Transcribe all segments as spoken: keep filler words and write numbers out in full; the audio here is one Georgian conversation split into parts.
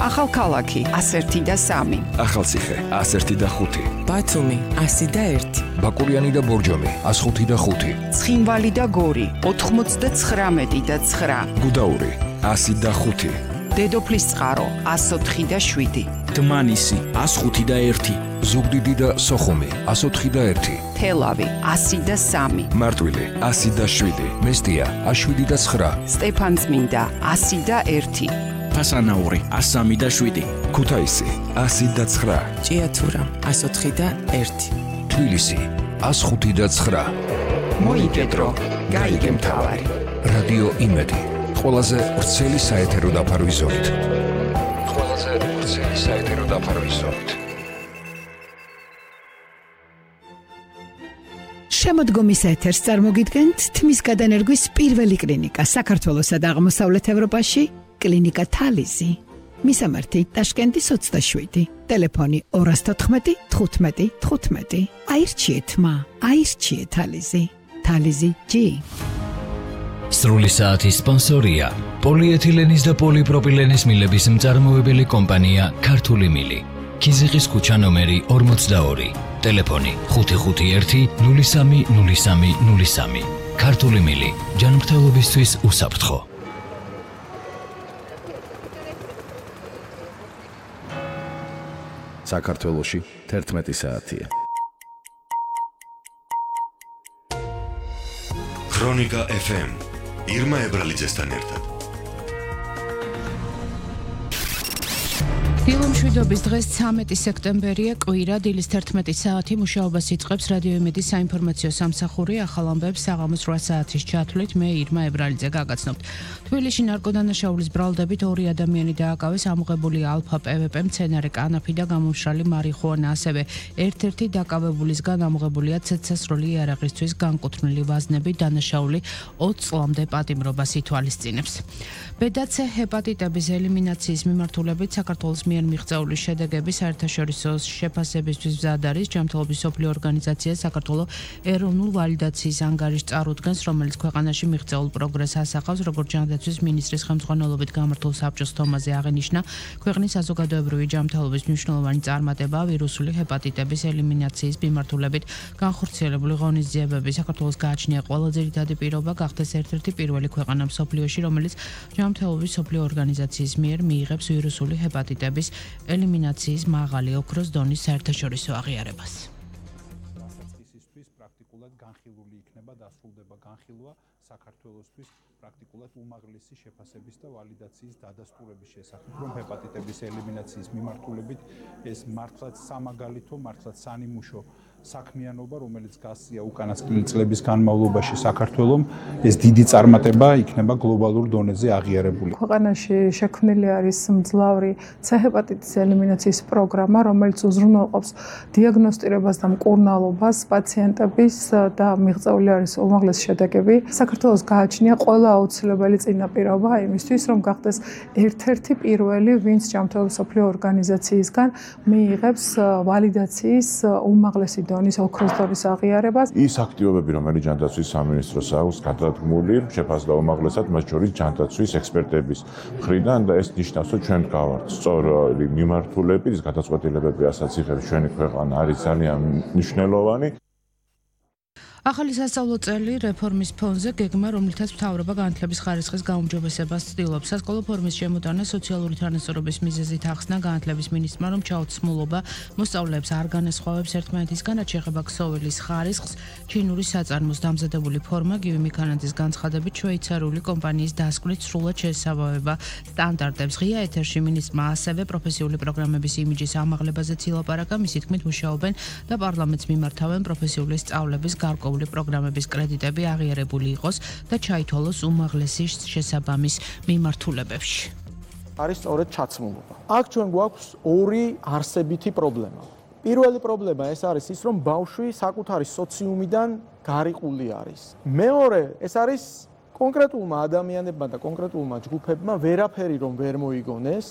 ახალქალაქი ას ერთი და სამი, ახალციხე ას ერთი და ხუთი, ბათუმი ასი და ერთი, ბაკურიანი და ბორჯომი ას ხუთი და ხუთი, ცხინვალი და გორი ოთხმოცდაცხრამეტი და ცხრა, გუდაური ასი და ხუთი, დედოფლისწყარო ას ოთხი და შვიდი, დმანისი ას ხუთი და ერთი, ზუგდიდი და სოხუმი ას ოთხი და ერთი, თელავი ასი და სამი, მარტვილი ასი და შვიდი, მესტია ას შვიდი და ცხრა, სტეფანწმინდა ასი და ერთი, ფასანაური ას სამი და შვიდი, ქუთაისი ასი და ცხრა, ჭიათურა ას ოთხი და ერთი, თბილისი ას ხუთი და ცხრა. მოიპედრო, გაიგე მთავარი. რადიო იმედი, ყველაზე ვრცელი საეთერო დაფარვის ზოლით. ყველაზე ვრცელი საეთერო დაფარვის ზოლით. შემოდგომის ეთერს წარმოგიდგენთ თმის გადანერგვის პირველი კლინიკა საქართველოსა და აღმოსავლეთ ევროპაში, კლინიკა თალიზი. მისამართი ტაშკენტის ოცდაშვიდი, ტელეფონი ორას თოთხმეტი თხუთმეტი თხუთმეტი. აირჩიეთ მა, აირჩიეთ თალიზი. თალიზი ჯი. სრული საათის სპონსორია პოლიეთილენის და პოლიპროპილენის მილების მწარმოებელი კომპანია ქართული მილი. ქიზიყის ქუჩა ნომერი ორმოცდაორი, ტელეფონი ხუთი ხუთი ერთი ნული სამი ნული სამი ნული სამი. ქართული მილი, ჯანმრთელობისთვის უსაფრთხო. საქართველოში თერთმეტი საათია. ქრონიკა ეფ ემ ირმა ებრალიძესთან ერთად. დილომშვიდობის დღეს ცამეტი სექტემბერია, კვირა, დილის თერთმეტი საათი მუშაობას იწყებს რადიო იმედის საინფორმაციო სამსახური. ახალ ამბებს საღამოს რვა საათის ჩათვლით მე ირმა ებრალიძე გაგაცნობთ. თბილისში ნარკოდანაშაულის ბრალდებით ორი ადამიანი დააკავეს, ამოღებული ალფა პვპ, მცენარე კანაფი და გამომშრალი მარიხუანა. ასევე ერთ-ერთი დაკავებულისგან ამოღებულია ცეცხლსასროლი იარაღისთვის განკუთვნილი ვაზნები. დანაშაული ოცი წლამდე პატიმრობას ითვალისწინებს. ბედაცე ჰეპატიტების ელიმინაციის მიმართულებით საქართველოს მიერ მიღწეული შედეგები საერთაშორისო შეფასებისთვის მზად არის. ჯანმრთელობის მსოფლიო ორგანიზაცია საქართველოს ეროვნულ ვალიდაციის ანგარიშს წარუდგენს, რომელიც ქვეყანაში მიღწეულ პროგრესს ასახავს. როგორც ჯანდაცვის მინისტრის ხელმძღვანელობით გამართულ საბჭოს თომაზე აღინიშნა, ქვეყნის საზოგადოებრივი ჯანმრთელობის მნიშვნელოვანი წარმატება ვირუსული ჰეპატიტების ელიმინაციის მიმართულებით განხორციელებული ღონისძიებები. საქართველოს გააჩნია ყველა ძირითადი პირობა გახდეს ერთ-ერთი პირველი ქვეყანა მსოფლიოში, რომელიც ჯანმრთელობის მსოფლიო ორგანიზაციის მიერ მიიღებს ვირუსული ჰეპატიტების ელიმინაციის მაღალი ოქროს დონის საერთაშორისო აღიარებას. დასაწყისისთვის პრაქტიკულად განხილული იქნება დასრულდება განხილვა საქართველოსთვის პრაქტიკულად უმაღლესი შეფასების და ვალიდაციის დადასტურების შესახებ, რომ ჰეპატიტების ელიმინაციის მიმართულებით ეს მართლაც სამაგალითო, მართლაც სანიმუშო საქმიანობა, რომელიც გასწია უკანასკნელი წლების განმავლობაში საქართველოს, ეს დიდი წარმატება იქნება გლობალურ დონეზე აღიარებული. ქვეყანაში შექმნილი არის მძლავრი C ჰეპატიტის ელიმინაციის პროგრამა, რომელიც უზრუნველყოფს დიაგნოსტირებას და მკურნალობას პაციენტების და მიღწეული არის უმაღლესი შედეგები. საქართველოს გააჩნია ყველა აუცილებელი წინაპირობა იმისთვის, რომ გახდეს ერთ-ერთი პირველი, ვინც ჯანმრთელობის მსოფლიო ორგანიზაციისგან მიიღებს ვალიდაციის უმაღლესი დონის ოქროს დონის აღიარებას. ის აქტივობები, რომელიც ჯანდაცვის სამინისტროს აქვს გადადგმული, შეფასდა უმაღლესად, მათ შორის ჯანდაცვის ექსპერტების მხრიდან და ეს ნიშნავს, რომ ჩვენ გავართ სწორი მიმართულები, ის გადაწყვეტილებები, რასაც იღებს ჩვენი ქვეყანა, არის ძალიან მნიშვნელოვანი. ახალი სასწავლო წელი რეფორმის ფონზე გეგმა, რომლითაც მთავრობა განათლების ხარისხის გაუმჯობესებას ცდილობს. სასკოლო ფორმის შემოტანა სოციალური თანასწორობის მიზეზით ახსნა განათლების მინისტრმა, რომ ჩაუცმულობა მოსწავლეებს არ განასხვავებს ერთმანეთისგან, რაც შეეხება ქსოვილის ხარისხს. ჩინური საწარმოს დამზადებული ფორმა გივი მიქანაძის განცხადებით შვეიცარიული კომპანიის დასკვნით სრულად შეესაბამება სტანდარტებს. ღია ეთერში მინისტრმა ასევე პროფესიული პროგრამების იმიჯის ამაღლებაზეც ილაპარაკა. მისი თქმით, მუშაობენ და პარლამენტს მიმართავენ პროფესიული სწავლების გარკვეული პროგრამების კრედიტები აღიარებული იყოს და ჩაითვალოს უმაღლესი შესაბამის მიმართულებებში. არის სწორედ ჩაცმულობა. აქ ჩვენ გვაქვს ორი არსებითი პრობლემა. პირველი პრობლემა ეს არის ის, რომ ბავშვი საკუთარი სოციუმიდან გარიყული არის. მეორე, ეს არის კონკრეტულმა ადამიანებმა და კონკრეტულმა ჯგუფებმა ვერაფერი რომ ვერ მოიგონეს,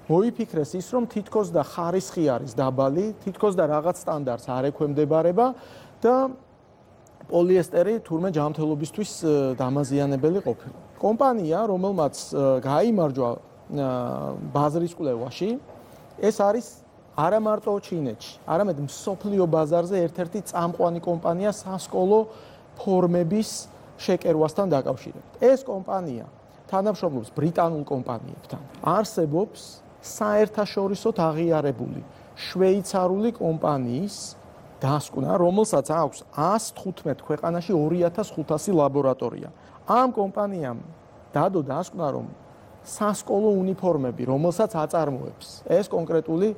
მოიფიქრეს ის, რომ თითქოს და ხარისხი არის დაბალი, თითქოს და რაღაც სტანდარტს არ ექვემდებარება და პოლიესტერი თურმე ჯანმრთელობისთვის დამაზიანებელი ყოფილა. კომპანია, რომელმაც გაიმარჯვა ბაზრის კვლევაში, ეს არის არა მარტო ჩინეთში, არამედ მსოფლიო ბაზარზე ერთ-ერთი წამყვანი კომპანია სასკოლო ფორმების შეკერვასთან დაკავშირებით. ეს კომპანია თანამშრომლობს ბრიტანულ კომპანიებთან. არსებობს საერთაშორისოდ აღიარებული შვეიცარიული კომპანიის დასკვნა, რომელსაც აქვს ას თხუთმეტ ქვეყანაში ორი ათას ხუთასი ლაბორატორია. ამ კომპანიამ დადო დასკვნა, რომ სასკოლო უნიფორმები, რომელსაც აწარმოებს ეს კონკრეტული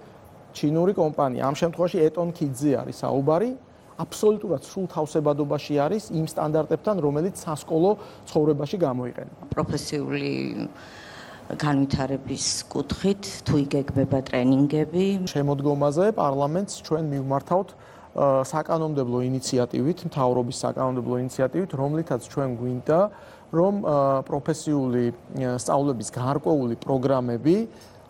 ჩინური კომპანია, ამ შემთხვევაში ეტონ კიდზე არის საუბარი, აბსოლუტურად სრულ თავსებადობაში არის იმ სტანდარტებთან, რომელიც სასკოლო ცხოვრებაში გამოიყენება. პროფესიული განვითარების კუთხით თუ იგეგმება ტრენინგები. შემოდგომაზე პარლამენტს ჩვენ მივმართავთ საკანონმდებლო ინიციატივით, მთავრობის საკანონმდებლო ინიციატივით, რომლითაც ჩვენ გვინდა, რომ პროფესიული სწავლების გარკვეული პროგრამები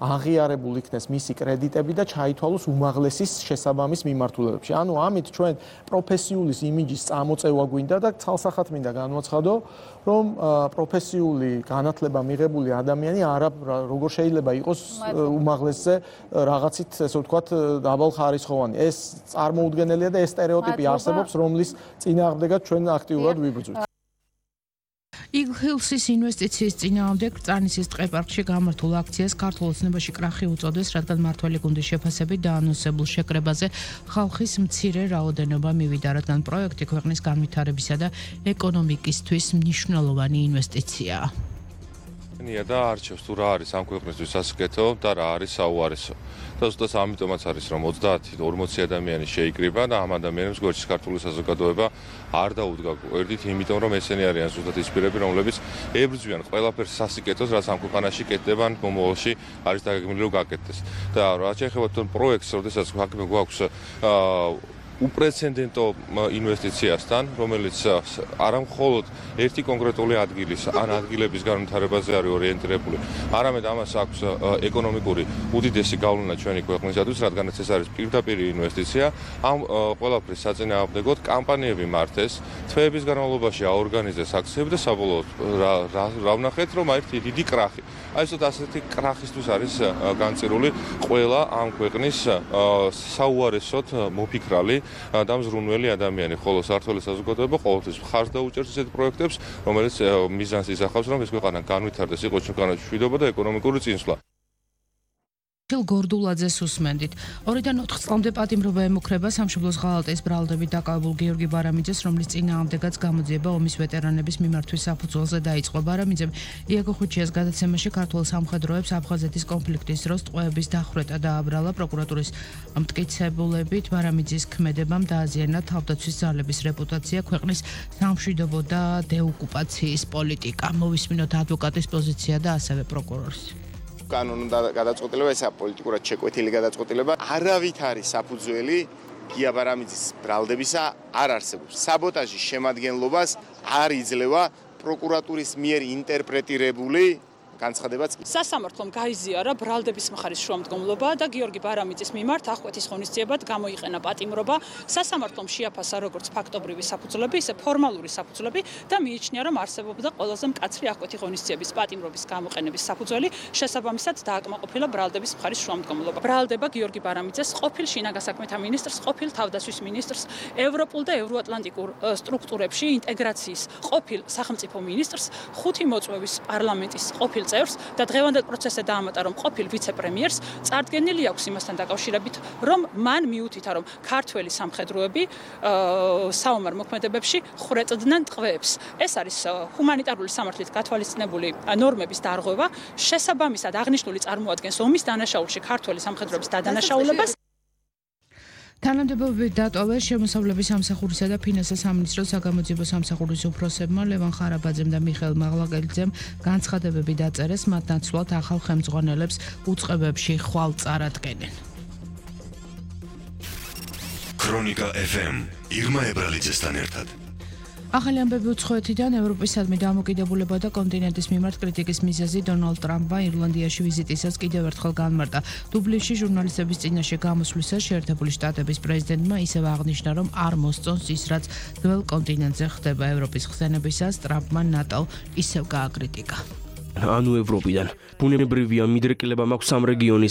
აღიარებულ იქნეს მისი კრედიტები და ჩაითვალოს უმაღლესის შესაბამის მიმართულებებში. ანუ ამით ჩვენ პროფესიულის იმიჯის წამოწევა გვინდა და ცალსახად მინდა განვაცხადო, რომ პროფესიული განათლება მიღებული ადამიანი არა როგორ შეიძლება იყოს უმაღლესზე რაღაცით, ესე ვთქვათ, დაბალხარისხოვანი. ეს წარმოუდგენელია და ეს სტერეოტიპი არსებობს, რომლის წინააღმდეგაც ჩვენ აქტიურად ვიბრძვით. იგლჰილსის ინვესტიციის წინააღმდეგ წარნისის ტყეპარკში გამართულ აქციას ქართულ ოცნებაში კრახი უწოდეს, რადგან მმართველი გუნდის შეფასებით დაანონსებულ შეკრებაზე ხალხის მცირე რაოდენობა მივიდა, რადგან პროექტი ქვეყნის განვითარებისა და ეკონომიკისთვის მნიშვნელოვანი ინვესტიციაა. ნია და არჩევს თუ რა არის ამ ქვეყნისთვის სასიკეთო და რა არის საუარესო. და ზუსტად ამიტომაც არის, რომ ოცდაათი ორმოცი ადამიანი შეიკრიბა და ამ ადამიანებს გვერდში ქართული საზოგადოება არ დაუდგა გვერდით, იმიტომ რომ ესენი არიან ზუსტად ის პირები, რომლებიც ებრძვიან ყველაფერს სასიკეთოს, რაც ამ ქვეყანაში კეთდება ან მომავალში არის დაგეგმილი რომ გაკეთდეს. და რაც შეეხება თვითონ პროექტს, როდესაც საქმე გვაქვს უპრეცედენტო ინვესტიციასთან, რომელიც არა მხოლოდ ერთი კონკრეტული ადგილის ან ადგილების განვითარებაზე არის ორიენტირებული, არამედ ამას აქვს ეკონომიკური უდიდესი გავლენა ჩვენი ქვეყნისათვის, რადგანაც ეს არის პირდაპირ ინვესტიცია. ამ ყველაფრის საწინააღმდეგოდ კამპანიები მართეს, თვეების განმავლობაში აორგანიზეს აქციები და საბოლოოდ რა ვნახეთ, რომ ერთი დიდი კრახი. აი ესეთ ასეთი კრახისთვის არის განწირული ყველა ამ ქვეყნის საუარესოდ მოფიქრალი და მზრუნველი ადამიანი, ხოლო საქართველოს საზოგადოება ყოველთვის მხარს დაუჭერს ესეთ პროექტებს, რომელიც მიზანს ისახავს, რომ ეს ქვეყანა განვითარდეს, იყოს ქვეყანა მშვიდობა და ეკონომიკური წინსვლა. გორდულაძეს უსმენდით. ორიდან ოთხ წლამდე პატიმრობა ემუქრება სამშობლოს ღალატის ბრალდებით დაკავებულ გიორგი ბარამიძეს, რომლის წინააღმდეგაც გამოძიება ომის ვეტერანების მიმართვის საფუძველზე დაიწყო. ბარამიძემ იაგო ხუჩიას გადაცემაში ქართულ სამხედროებს აფხაზეთის კონფლიქტის დროს ტყვეების დახვრეტა დააბრალა. პროკურატურის მტკიცებულებით ბარამიძის ქმედებამ დააზიანა თავდაცვის ძალების რეპუტაცია, ქვეყნის სამშვიდობო და დეოკუპაციის პოლიტიკა. მოვისმინოთ ადვოკატის პოზიცია და ასევე პროკურორის. კანონო გადაწყვეტილება, ესა პოლიტიკურად შეკვეთილი გადაწყვეტილება, არავით არის საფუძველი გია ბარამიძის ბრალდებისა არ არსებობს. საბოტაჟის შემადგენლობას არ იძლევა პროკურატურის მიერ ინტერპრეტირებული განცხადებაც. სასამართლომ გაიზიარა ბრალდების მხარის შუამდგომლობა და გიორგი ბარამიძის მიმართ აღკვეთის ღონისძიებად გამოიყენა პატიმრობა. სასამართლომ შეაფასა როგორც ფაქტობრივი საფუძვლები, ისე ფორმალური საფუძვლები და მიიჩნია, რომ არსებობდა ყველაზე მკაცრი აღკვეთი ღონისძიების პატიმრობის გამოყენების საფუძველი, შესაბამისად დააკმაყოფილა ბრალდების მხარის შუამდგომლობა. ბრალდება გიორგი ბარამიძეს ყოფილ შინაგან საქმეთა მინისტრს, ყოფილ თავდაცვის მინისტრს, ევროპულ და ევროატლანტიკურ სტრუქტურებში ინტეგრაციის ყოფილ სახელმწიფო მინისტრს, ხუთი მოწვევის პარლამენტის ყოფილ წევრს და დღევანდელ პროცესზე დაამატა, რომ ყოფილ ვიცე-პრემიერს წარდგენილი აქვს იმასთან დაკავშირებით, რომ მან მიუთითა, რომ ქართველი სამხედროები საომარ მოქმედებებში ხრეწდნენ ტყვეებს. ეს არის ჰუმანიტარული სამართლით გათვალისწინებული ნორმების დარღვევა, შესაბამისად აღნიშნული წარმოადგენს ომის დანაშაულში ქართველი სამხედროების დადანაშაულებას. თანამდებობებით დატოვეს შემოსავლების სამსახურისა და ფინანსთა სამინისტროს საგამოძიებო სამსახურის უფროსებმა ლევან ხარაბაძემ და მიხეილ მაღლაკელიძემ განცხადებები დაწერეს, მათ ნაცვლად ახალ ხელმძღვანელებს უწყებებში ხვალ წარადგენენ. ქრონიკა ეფ ემ ირმა ებრალიძესთან ერთად. ახალი ამბები უცხოეთიდან ევროპისადმი დამოკიდებულება და კონტინენტის მიმართ კრიტიკის მიზეზი დონალდ ტრამპმა ირლანდიაში ვიზიტისას კიდევ ერთხელ განმარტა. დუბლინში ჟურნალისტების წინაშე გამოსვლისას შეერთებული შტატების პრეზიდენტმა ისევ აღნიშნა, რომ არ მოსწონს ის, რაც ძველ კონტინენტზე ხდება. ევროპის ხსენებისას ტრამპმა ნატო ისევ გააკრიტიკა. ანუ ევროპიდან. ბუნებრივია მიდრეკილება მაქვს ამ რეგიონის